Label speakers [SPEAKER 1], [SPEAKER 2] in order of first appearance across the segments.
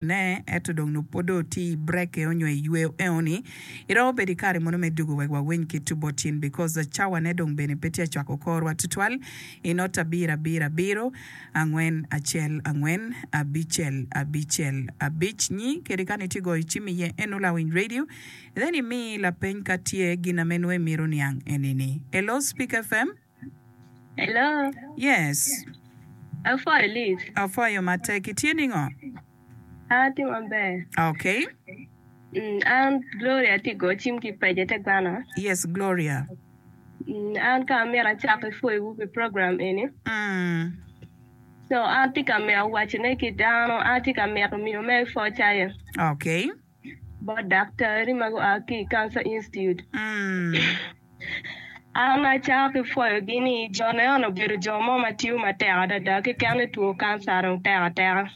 [SPEAKER 1] Ne, ento dong nongo pwod dong tye i break onyo i yweyo eno ni, iromo bedo i kare mono me dugo wek wawiny kit tu bot in because cawa ne dong bene pe tye acwako korwa tutwal i not abiro abiro abiro angwen acel angwen abicel abicel abic nyi kede ka ni tye goyo cim iye eno lawiny radio then imi lapeny ka tye gin ame nongo imito niang eni ni. Hello Speak FM.
[SPEAKER 2] Hello.
[SPEAKER 1] Yes.
[SPEAKER 2] Apwoyo Liz.
[SPEAKER 1] Apwoyo matek. Itye ningo?
[SPEAKER 2] An atye maber.
[SPEAKER 1] Okay.
[SPEAKER 2] Mm, an Gloria atye go cim ki paco ite gwana.
[SPEAKER 1] Yes, Gloria.
[SPEAKER 2] Mm, an ka amito acak ki pwoyowu pi program eni.
[SPEAKER 1] Mm.
[SPEAKER 2] So an atye ka mito wacone ki dano, an atye ka mito miyo mere pwoc aye.
[SPEAKER 1] Okay.
[SPEAKER 2] Bot daktari ma gua ki i Cancer Institute. An acako ki pwoyogi ni jo ne obedo jo mo ma tiyo matek adada keken ni two kanca dong tek ateka.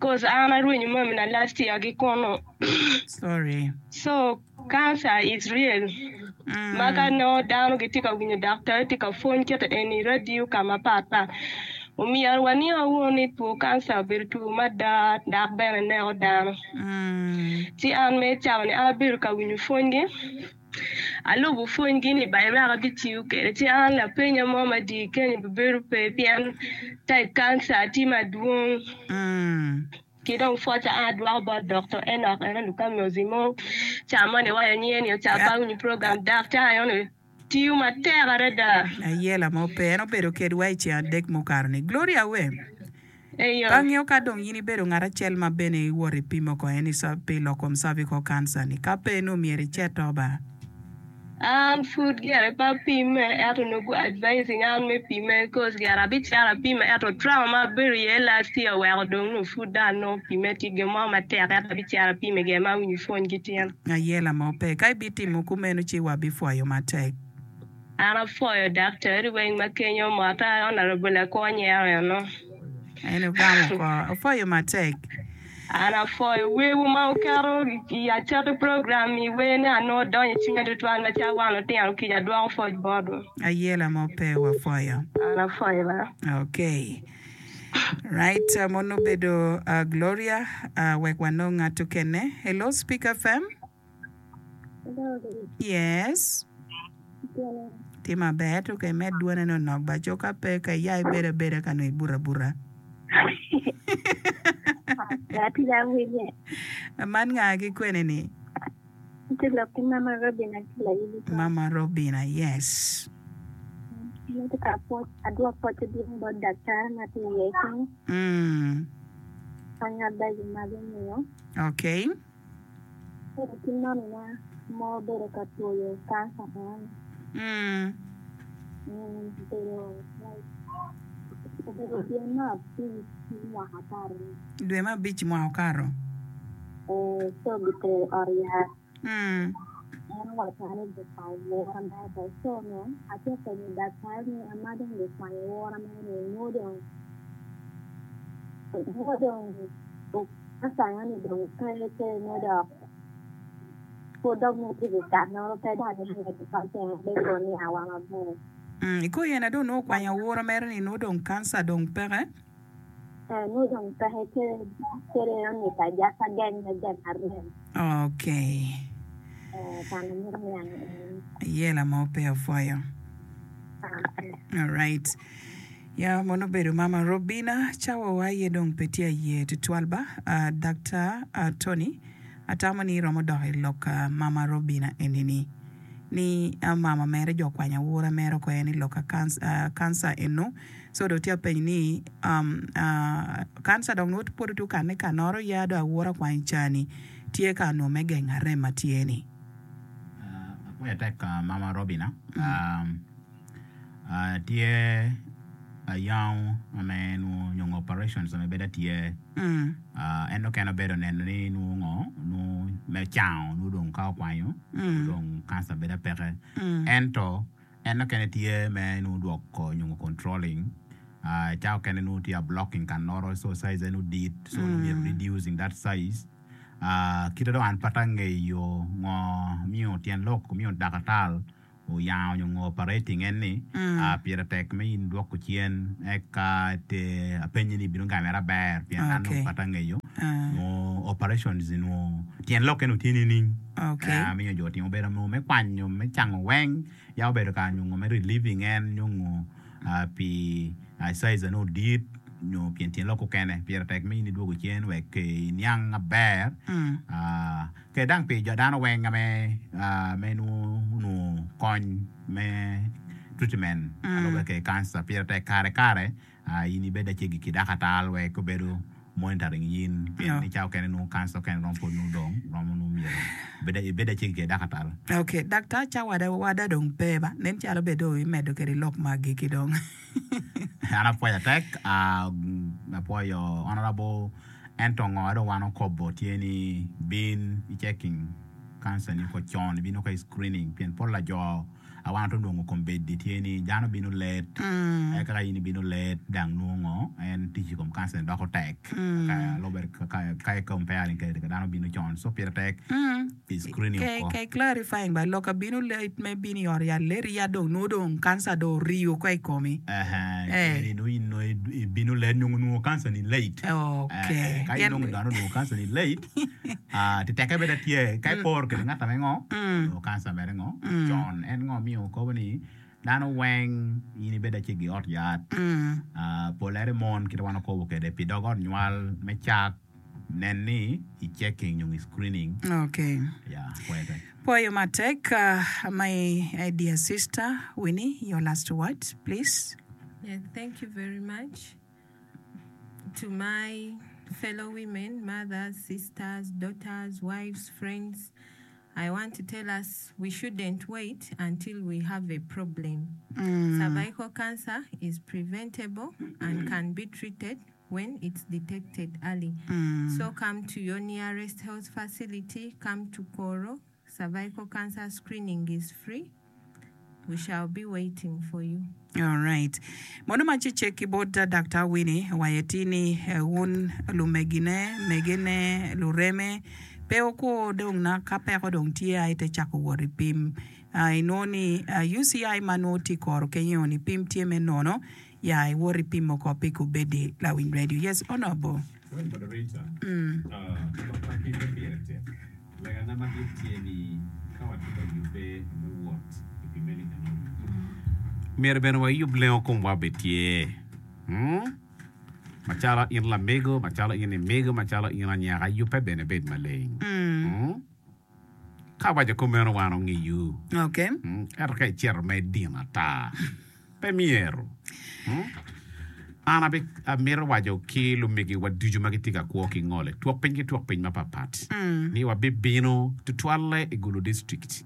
[SPEAKER 2] Cause an arwenyo mamina last year ki kunu. So Cancer is real ma ka nongo dano gitye ka winyo daktar tye ka pwony kite eni i radio ka mapat pat omyero waniang wunu ni two cancer obedo two mada dok bene neko dano. Ci an me cawa ni an abedo ka winyo pwonygi alubo pwonygi ni by wek abitiyo kwede ci an lapenya mo madit kenyo bibedo pe pien type cancer tye madwong. Ki dong pwoca an adwoko bot Doktor Enoch eno Lukamiozi mo ca moni waco nyinge ni oca pa winyo program daktar eno tiyo matek adada.
[SPEAKER 1] Ayela mo pe. En obedo kedwa i ceng adek mukato ni. Gloria we.
[SPEAKER 2] Eyo.
[SPEAKER 1] Pe angeyo ka dong in ibedo ngat acel ma bene iwoto ipimo ko en pi lok kom cervical cancer ni. Ka pe nongo myero icit to ba.
[SPEAKER 2] An pud gire pe apimme ento nongo gu advising an me pimme cause gire abicito apime ento trauma ma abedo iye last year oweko dong nongo pud dong anongo pimme tye gin mo matek ento abicito apime gire ma awinyo pwony ki tyen.
[SPEAKER 1] Ayela mo pe. Ka ibitimo kumeno ci wabipwoyo matek.
[SPEAKER 2] An apwoyo daktari weng ma kenyo motta Honourable Lakwo Nyero eno.
[SPEAKER 1] En ogamo oko. Apwoyo matek.
[SPEAKER 2] An apwoyo wewu ma wuketo i acakki program i wer ni anongo donyo i cwinya tutwal macalo wan lutino kica adwoko pwoc botwu.
[SPEAKER 1] Ayela mo pe wapwoyo.
[SPEAKER 2] An apwoyo ba.
[SPEAKER 1] Okay. Right, mono obedo uh, Gloria. Uh, wek wanong ngat okene. Hello, Speak FM. Yes. Tye maber ento ka imed dwone ni onok ba co ka pe ka iya ibedo abeda ka nongo ibuto abuta. Man nga ki kwene ni? Mama Robina, yes. Mm. Okay.
[SPEAKER 3] Bedo ki mamina ma obedo ka twoyo kanca eno ni obedo like obedo dwe me abic me mwaka okato ni.
[SPEAKER 1] Dwe me abic mwaka okato.
[SPEAKER 3] Ee, co gitero i ot yat. En owacca ni gikwanyo wora mere oko. Co onongo atye ka penyo daktar ni ama dong gikwanyo wora mere ni nwo dong nwo dong Asanyo ni dong pe ce nyo dok pud dok nongo tye ki kanoro pe dok ni medo pa ceng be ko ni awa maber.
[SPEAKER 1] I kor yene dong nongo okwanyo awura mere ni nongo dong kanca dong peke.
[SPEAKER 3] Eh nongo dong peke ce cere eno ni ka jaka geng me geng arem.
[SPEAKER 1] Okay.
[SPEAKER 3] Eh kan amito niang eni.
[SPEAKER 1] Ayela mo pe opwoyo. Alright. Ya mono obedo mama Robina cawa wa aye dong pe tye aye tutwal ba Daktar Tony atamo ni iromo dok i lok mama Robina eni ni ni mama mere jo okwanyo awura mere oko en i lok cancer eno so dong tye apenyo ni cancer dong nongo pwod tye okane kanoro ya dong awura okwanyo cani tye ka nongo me gengo arem ma tye ni.
[SPEAKER 4] Apwoyo atek mama Robina. Tye ayango ma me nwo nyo operations ma bedo tye en okene obedo neno ni nwo ngo nwo me cango nwo dong ka okwanyo dong cancer bedo peke ento en okene tye me nwo dwoko nyo controlling ca okene nwo tye a blocking kanoro so size ne nwo dit so myero reducing that size kite dong an pe angeyo ngo miyo tyen lok miyo dakatal. Oyango nyo ngo operating en ni pire tek me in dwoko cen eka te apenyi ni ibino gamere aber pien an nongo pe angeyo nwo operations nwo tyen lokke nongo tye nining miyo jo timo obedo nongo me kwanyo me cango weng ya obedo ka nyo ngo me relieving en nyo ngo pi size nongo dit nyo pien tyen lok okene pire tek me in idwogo cen wek iniang aber. Kede dang pi jo dano weng ame me nwo kony me treatment alube ke cancer pire tek kare kare in ibed acegi ki dakatal wek obedo monitoring yin pien ni ca okene nwo cancer okene romo pwod nwo dong romo nwo myero ibed acegi ke dakatal.
[SPEAKER 1] Ok daktar ca wada dong pe ba nen calo bed dong imedo kede lok ma agiki dong.
[SPEAKER 4] An apwoyo atek apwoyo honourable Ento ngo dong wan okobo tye ni bin i checking cancer ni ko con ibino ka i screening pien pol pa jo a wan watwero nongo kombeddi tye ni dano bino late eka ka in ibino late dang nongo ngo en tic i kom cancer ni doko tek ka i comparing kede ka dano bino con so pire tek pi screening oko.
[SPEAKER 1] Ka i clarifying ba lok abino late me bino i ot yat late ya dong nongo dong cancer dong oriyo oko i komi.
[SPEAKER 4] Eni nongo in nongo ibino late nongo onwongo cancer ni late.
[SPEAKER 1] Okay.
[SPEAKER 4] Ka inongo dano onwongo cancer ni late, ti teke bene tye ka iporo kede ngat ame ngo onwongo cancer mere ngo con. En ngo miyo kobo ni dano weng in ibed acel i ot yat, pol ere mon kit ma wan okobo kede pi dog ot nywal me cak. Nen ni i checking nyo i screening.
[SPEAKER 1] Okay.
[SPEAKER 4] Yeah, pwoyo tek.
[SPEAKER 1] Pwoyo matek my dear sister Winnie, your last word please.
[SPEAKER 2] Yeah, thank you very much to my fellow women, mothers, sisters, daughters, wives, friends. I want to tell us we shouldn't wait until we have a problem. Cervical cancer is preventable and can be treated when it's detected early. So come to your nearest health facility, come to Koro, cervical cancer screening is free, we shall be waiting for you.
[SPEAKER 1] Alright. Mono ma cecek ki bot Daktar Winnie owaco atir ni wun lumegine, megene, lureme, pe wukur dong na ka peko dong tye aye te cako wot i pim. Inwongo ni UCI ma nongo tye i koro kenyo ni pim tye me nono Ya iwot ipimo oko pi kubedi lawiny radio. Yes honourable.
[SPEAKER 5] Well moderator, lok ma kite pire tek. Legana madit tye ni ka watye ka yubbe me wot i pimeli enoni,
[SPEAKER 6] myero bene wayub lengo komwa obed tye. Macalo in lamego, macalo in imego, macalo in anyaka, yubbe bene bed maleng. Ka awaco kumeno wan ongiyu.
[SPEAKER 1] Okay.
[SPEAKER 6] Ento ka icito ma idino ata, pe myero. An amito waco ki lumegiwa ducu ma gitye ka kwo ki ngolo i twok piny ki twok piny mapatpat ni wabibino tutwalle i Gulu District.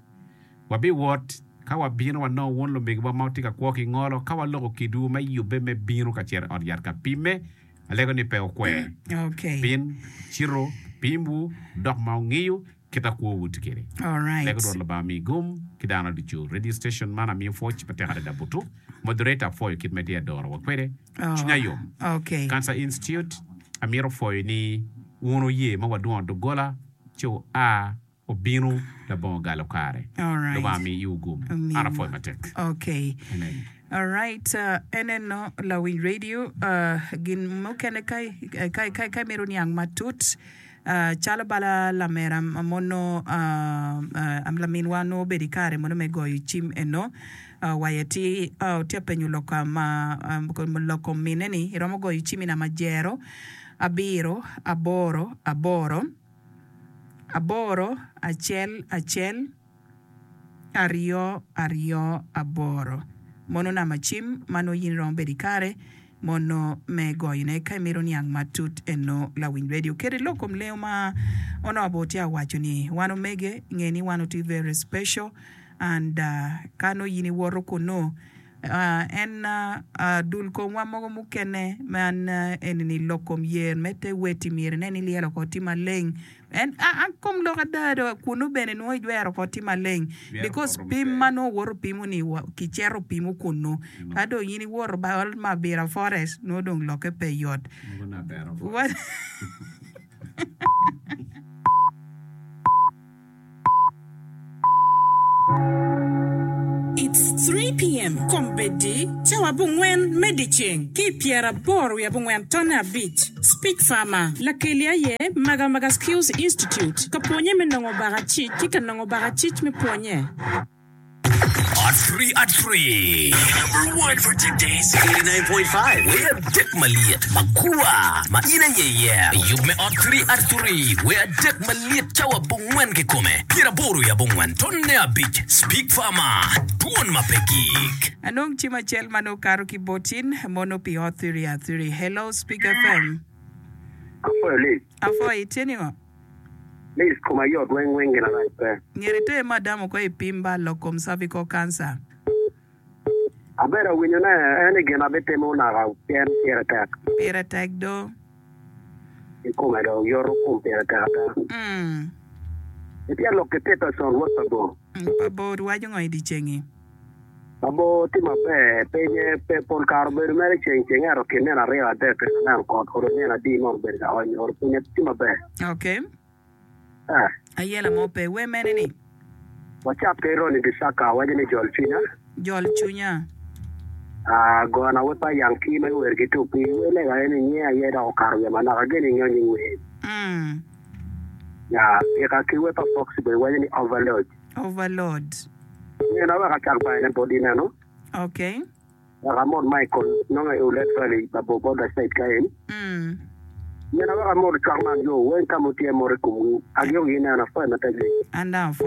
[SPEAKER 6] Wabiwot ka wabino wanongo wun lumegiwa ma wutye ka kwo ki ngolo ka waloko kidwu me yubbe me bino ka cito i ot yat ka pimme. Alego ni pe wukwer.
[SPEAKER 1] Okay.
[SPEAKER 6] Pien cito pimwu dok ma wungiyo kit a kwowu tye kwede.
[SPEAKER 1] Alright.
[SPEAKER 6] Lego Rwot Lubanga mi gum ki dano ducu. Radio station man amiyo pwoc matek adada butu. Moderator apwoyo kit ma itye adoro wa kwede.
[SPEAKER 1] Oh,
[SPEAKER 6] Cwinya yom.
[SPEAKER 1] okay.
[SPEAKER 6] Cancer Institute amito pwoyo ni wun wuye ma wadwongo doggola ci wua Obino labongo galo kare.
[SPEAKER 1] Alright.
[SPEAKER 6] Lubanga omi iwu gum.
[SPEAKER 1] Omiwu.
[SPEAKER 6] An apwoyo matek.
[SPEAKER 1] Okay.
[SPEAKER 6] Amen.
[SPEAKER 1] Alright, uh, eneno lawiny radio, uh, gin mukene ka, ka, ka, ka imito niang matut, uh, calo bala lamera mono, uh, uh, laminwa nongo obedo i kare mono me goyo cim eno, uh, waye ti, uh, tye penyo lok ma, uh, lok kom mine ni, iromo goyo cim i namba jero, abiro, aboro, aboro, aboro, acel, acel, aryo, aryo, aboro. Mono namba cim ma nongo in iromo bedo ikare mono me goyone ka imito niang matut eno lawiny radio. Kede lok kom lengo ma onongo tye awaco ni wan omege nge ni wan otye very special and ka nongo in iwoto kunu En dul komwa mogo mukene ma eni-ni lok kom yer me te weti myero inen ni lyel oko tye maleng. En kom lok ada do kunu bene nongo ijwero oko tye maleng because pim ma nongo owoto pimo-ni kicito pimo kunu ka dong in iwoto bal ma Abira Forest nongo dong lokke pe yot.
[SPEAKER 7] Kombeddi, cawa abongwen me dyeceng ki i pyeraboro wiye abongwen tonne abic. Speech Farmer, Lakeli aye Magamaga Skills Institute, ka pwonye me nongo bakacic ki ka nongo bakacic me pwonye.
[SPEAKER 8] At Free At Free Number one for today's 89.5 Wer adek malyet magwar ma in aye iyero. Yub me Ot Free At Free Wer adek malyet cawa abongwen kikome pyeraboro i abongwen tonne abic Speak Farmer Dwon ma pe gik.
[SPEAKER 1] Anong cim acel ma nongo kato ki bot in mono pi Ot Free At Free? Hello Speak FM.
[SPEAKER 9] Apwoyo Liz.
[SPEAKER 1] Apwoyo, itye ningo?
[SPEAKER 9] Liz, Koma yot weng weng gin arac pe.
[SPEAKER 1] Myero iter madam oko i pim ba lok kom cervical cancer.
[SPEAKER 9] Abedo awinyo ne en i gin abitimo naka pien pire tek.
[SPEAKER 1] Pire tek do.
[SPEAKER 9] I kome do yoto kom pire tek ada. Itye lok ki Peterson wod pa bor.
[SPEAKER 1] Pa bor waco ngo i dye cengi?
[SPEAKER 9] Pa bor tye maber pinye pe pol kare obedo mere ceng ceng ento kin nino aryo adek kene aneno kot olo nino adi mono obedo ka ony olo pinye tye maber.
[SPEAKER 1] Ok.
[SPEAKER 9] Eh.
[SPEAKER 1] Ayela mo pe. Wer mene ni?
[SPEAKER 9] Wacak ki Ronnie Bisaka waco ni jol cwinya.
[SPEAKER 1] Jol cwinya.
[SPEAKER 9] Ah, gona wer pa Yankee ma giwero ki tupi. Wer lega aye ni nyinge aye dok okato wiya manok. Ageno ingeyo nying wer.
[SPEAKER 1] Mm.
[SPEAKER 9] Ya, tika ki wer pa Foxy Boy waco ni Overload.
[SPEAKER 1] Overload.
[SPEAKER 9] Nino wek acak bayone bot ineno.
[SPEAKER 1] Okay.
[SPEAKER 9] Wek amot Michael nongo i Oulet Valley pa bor border side ka en.
[SPEAKER 1] Mm.
[SPEAKER 9] Nino wek amot cwak man jo weng ka mutye mot i komwu. Agiko gi ineno apwoyo matek ni.
[SPEAKER 1] An dong apwoyo.